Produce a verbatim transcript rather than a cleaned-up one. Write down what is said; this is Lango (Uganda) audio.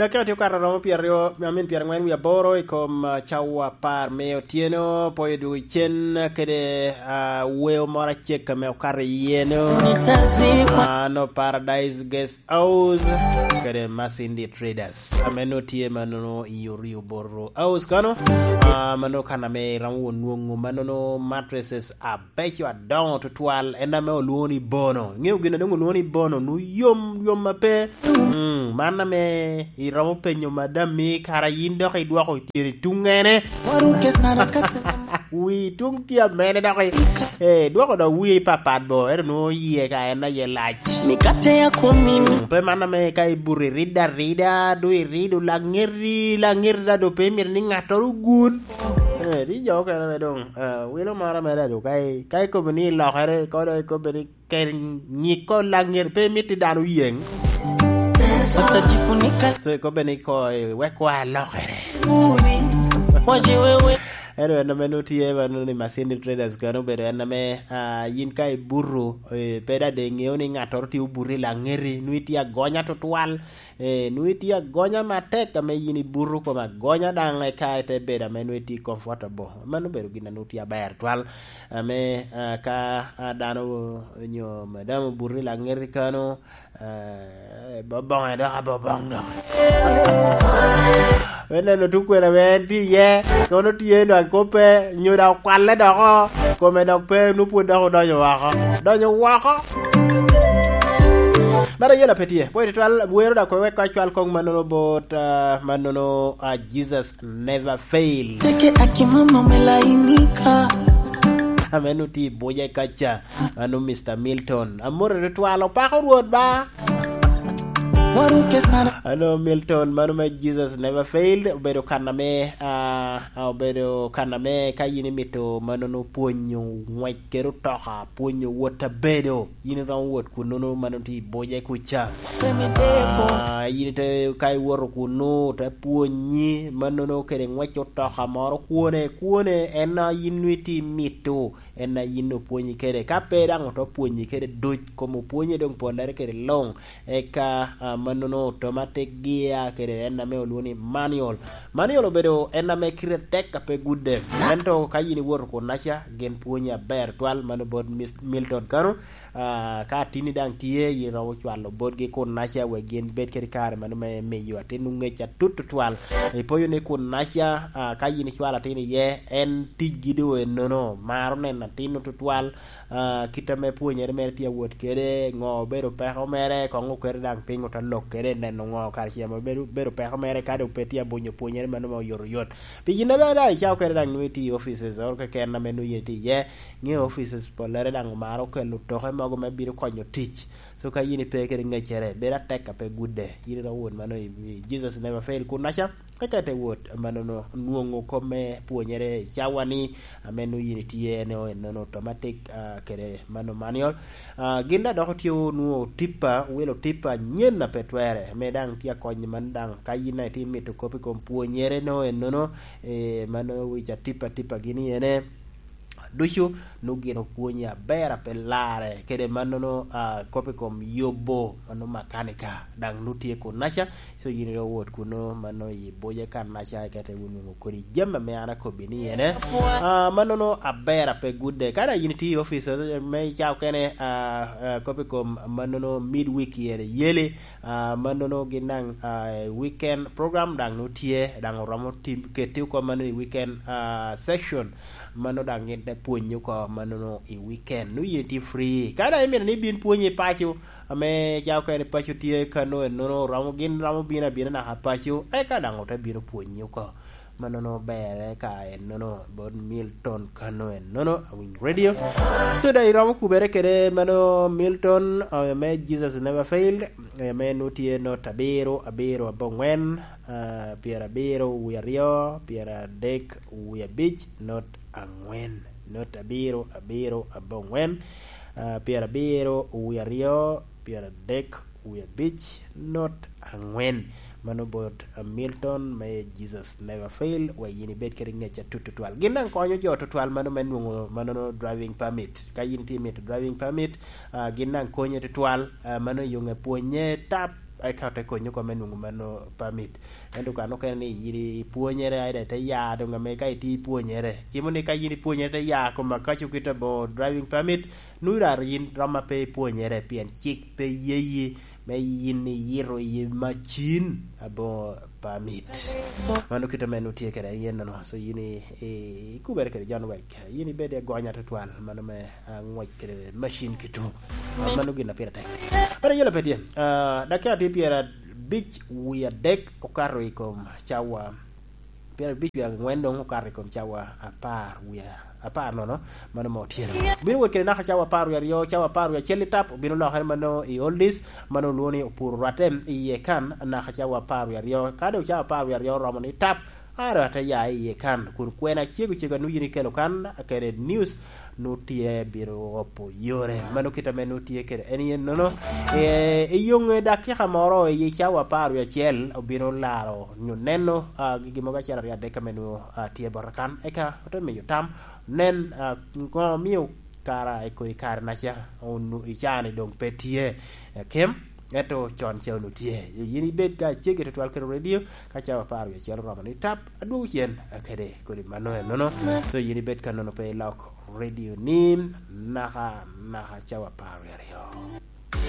Dakika tye okato romo pyeraryo, I mean, pyerangwen wie aboro i kom, ah, cawa apar me otyeno, pwoyo dwogo cen kede, ah, weo moro acek ame okato iyeno. Ah, no Paradise Guest House kede Masindi Traders. Ame no tye manono i Orio Borro House kano. Ah, mano kan ame iromo won nwoŋo manono mattresses abeco adoŋo tutwal, en ame olwoŋo ni Bono. Iŋeo gin a doŋ olwoŋo ni Bono, nu yom, yom ape. Mm, man ame iromo penyo madam mi kara yin dok idwoko tyeni tuŋ ene. Wi tuŋ tye amene dok i-, eh, dwoko dok wi papat bo, ero nwoŋo yie ka en aye lac. Mikate ya kwon mimi. Mm, pe man ame ka ibuto irido arida, do irido laŋeti, laŋeti da do pe imito ni ŋattoro ogut. Eh, ti jo okene me doŋ, eh, wilo moro mere do ka i-, ka ikobo ni ilokere, kodo ikobo ni kel nyiko laŋet pe miti dano yeŋ. So, ikobbe ni ko, eh, wek kwa alokere. Eno en ame nwoŋo tye, ma nwoŋo ni Masindi Traders kano obedo en ame, ah, yin ka ibuto, eh, pe dade iŋeo ni ŋattoro tye obuto i laŋeti, nwoŋo itye agonya tutwal, eh, nwoŋo itye agonya matek ame yin ibuto kom agonya daŋ eka ite bedo ame nwoŋo itye comfortable. Mano obedo gin a nwoŋo tye aber twal. Ame, ah, ka, ah, dano onyo madam obuto i laŋeti kano, ah, boboŋe dok aboboŋ dok. Me neno tukwena ame en tye iye, kono tye nwaŋ kop pe, nyo dok okwalle doko, kome dok pe, nwoŋo pwod dok odonyo woko. Donyo woko. Mara yela pe tye. Pwede twal, wero dok wek ka cwal kong manono bot, ah, manono, ah, Jesus Never Fail. Teke akimama me lainika. Ame nu ti buje kaca, anu Mister Milton. Amore tutwal, opako Rwot ba. Waruke sana. Anu Milton, mano me Jesus Never Failed, obedo kan ame, ah, ah, obedo kan ame ka yin imito manono pwonyo ngwec kede otoka, pwonyo wot abedo. Yin iromo wot kunnono ma nwoŋo tye i Buce kuca. Ah, yin ite, ka iwoto kunnu, te pwonyi, mannono kede ngwec otoka moro kwone, kwone, en a yin nwoŋo itye imito, en a yin opwonyi kede. Ka pe daŋ oto pwonyi kede duc, kom opwonye doŋ pollere kede luŋ. Eka, ah, mannono automatic gear kede en ame olwoŋo ni manual. Manual obedo en ame kite tek a pe gudde. Ento ka yin iwoto kunnaca, gin pwonyi aber twal, mano bot Mis-, Milton kano. Ah, ka atinni daŋ tye, yin iromo cwalo botgi kunnaca wek gin bed kede kare mano me miyo atinnu ngec atut tutwal. Ipoyo ni kunnaca, ah, ka yin icwalo atin iye, en ticgi doŋ ennono, maro neno atinnu tutwal, ah, kit ame pwonyere mere tye awot kede, ŋo obedo peko mere, koŋ okete daŋ piny ote lok kede, neno ŋo kare ce ame obedo, bedo peko mere, ka doŋ pe tye abonyo pwonyere mano ma oyotoyot. Pi yin ame daŋ icako kede daŋ nwoŋo itye i offices oro keken ame nwoŋo yin itye iye, ŋeo offices pollere daŋ omaro kelo toke mogo me bino konyo tic. So ka yin ipe kede ŋeccere, bedo atek a pe gudde. Yin iromo wot mano i, i Jesus Never Fail kunnaca, eka ite wot manono nwoŋo kop me pwonyere i cawa-ni, ame nwoŋo yin itye en o ennono automatic, ah, kede mano manual. Ah, gin daŋ dok otye onwoŋo tippa, wilo tippa anyen a pe twere, ame daŋ tye akony man daŋ ka yin daŋ itye imito kop i kom pwonyere no ennono, eh, mano wic atippa tippa gini ene. Ducu nwoŋo gin opwonyi aber a pe larre, kede mannono, ah, kop i kom yubo, mano makanika, daŋ nwoŋo tye kunnaca, so yin ite wot kunno, mano i Buce kannaca, eka ite wun nwoŋo kodi jami ame an akobbi ni ene. Ah, mannono aber a pe gudde. Ka daŋ yin itye i office, eh, me icako kene, ah, ah, kop i kom mannono midweek ene yeli, ah, mannono gin daŋ, ah, weekend program daŋ nwoŋo tye, daŋ oromo tim-, keti oko mannono i weekend, ah, section. Mano daŋ gin te pwonyi oko mannono i weekend. Nwoŋo yin itye free. Ka daŋ imito ni ibin pwonyi i paco, ame cako kene paco tye kano ennono, romo, gin romo bino abina naka paco, eka daŋ ote bino pwonyi oko. Mannono berre ka ennono bot Milton kano ennono, Awiny Radio. So, daŋ iromo kubere kede mano Milton, eh, me Jesus Never Failed, eh, me nwoŋo tye not abiro, abiro, aboŋwen, ah, pyerabiro wie aryo, pyeradek wie abic, not angwen, not abiro, abiro, aboŋwen, ah, pyerabiro wie aryo, pyeradek wie abic, not angwen. Mano bot, ah, Milton me Jesus Never Fail, wek yin ibed kede ngec atut tutwal. Gin daŋ konyo jo tutwal mano me nwoŋo manono driving permit. Ka yin itye mito driving permit, ah, gin daŋ konye tutwal, ah, mano i yo nge pwonye tap, eka te konyo kome nwoŋo mano permit. Ento kan okene ni yin ipwonyere, aida ite ya doŋ ame ka itye ipwonyere. Cimo ni ka yin ipwonyere te ya kom akaco kite bo driving permit, nwoŋo raro yin rom a pe ipwonyere pien cik pe yeyi me yin iyito i macin aboŋo permit. Mano kite me nwoŋo tye kede yen nono. So yin i, i, ikubere kede John Wick. Yin ibed i agonya tutwal, mano me, ah, ngwec kede macin kito. Ah, mano gin a pire tek. But ayelo pe tye. Ah, dakika tye pyerabic wie adek okato i kom cawa. Pyerabic wie angwen doŋ okato i kom cawa apar wie apar nono, mano ma otyeno. Obino wot kede naka cawa apar wie aryo, cawa apar wie acel i tap, obino lokere mano i oldies, mano olwoŋo ni opuro rwatte iye kan, naka cawa apar wie aryo. Ka doŋ cawa apar wie aryo oromo ni tap, aro ate ya iye kan, kun kwena cego cego a nwoŋo yin ikelo kan, kede news nwoŋo tye bino opo yore. Mano kit ame nwoŋo tye kede en yen nono. E, i yoŋe dakika moro i cawa apar wie acel obino laro nyo neno, ah, gigi mogo acel aryo adek ame nwoŋo, ah, tye bota kan. Eka ote miyo tam, nen, ah, ŋo omio kara i kodi kare naca, onu-, i caa-ni doŋ pe tye, eh, kem, ento con ca onwoŋo tye. Yin ibed ka ceggi tutwal kede redio, ka cawa apar wie acel oromo ni tap, adwogo cen, eh, kede kodi mano enono. So yin ibed ka nono pe ilok redio ni, naka, naka cawa apar wie aryo.